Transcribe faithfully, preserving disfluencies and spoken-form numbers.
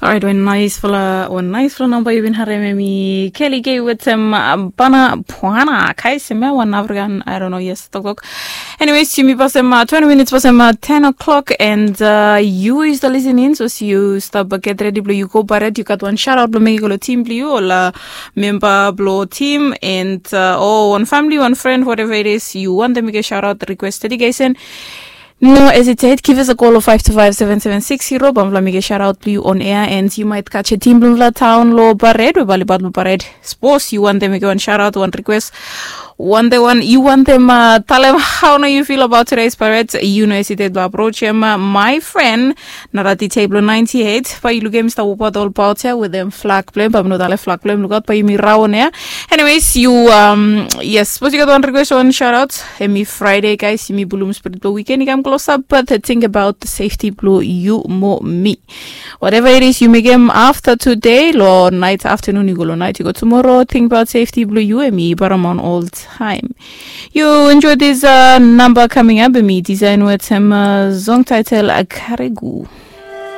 Orait, wan naisfala wan naisfala namba yu bin harem em i Kelly Gay wetem Bana Puana, kais em ya wan African, I don't know, yes, toktok. Anyways, yumi pasem twenty minutes pasem ten o'clock, and yu yu stap listening, so si yu stap get ready blo yu go baret, yu gat wan shout out blo mekim go lo team blo yu, ol memba blo team, and o wan family, wan friend, whatever it is yu wantem mekim shout out, request, dedication. No hesitate, give us a call of five two five seven seven six zero. Bamfala mi get shout out to you on air, and you might catch a team bamfala town lo Baret, we bali bat lo Baret. Suppose you want them, you want shout out, want request, want the one you want them uh, tell them how now you feel about today's Pirates. You know hesitate to approach him, uh, my friend. Narati table ninety-eight. But you look him stop about all about here with them flag blame, but no dale flag blame. Look out, but you me round here. Anyways, you um yes, suppose you got one request, one shout out. Emi Friday, guys, yumi bulum spirit blo weekend i kam close up, but think about the safety blo yu mo mi. Whatever it is, yu mekem afta today, lo night, afternoon yu go, lo night yu go tomorrow, think about safety blo yu, emi paramount all time. Yu enjoy this uh, number coming up, emi design wetem uh, song title Akarigu.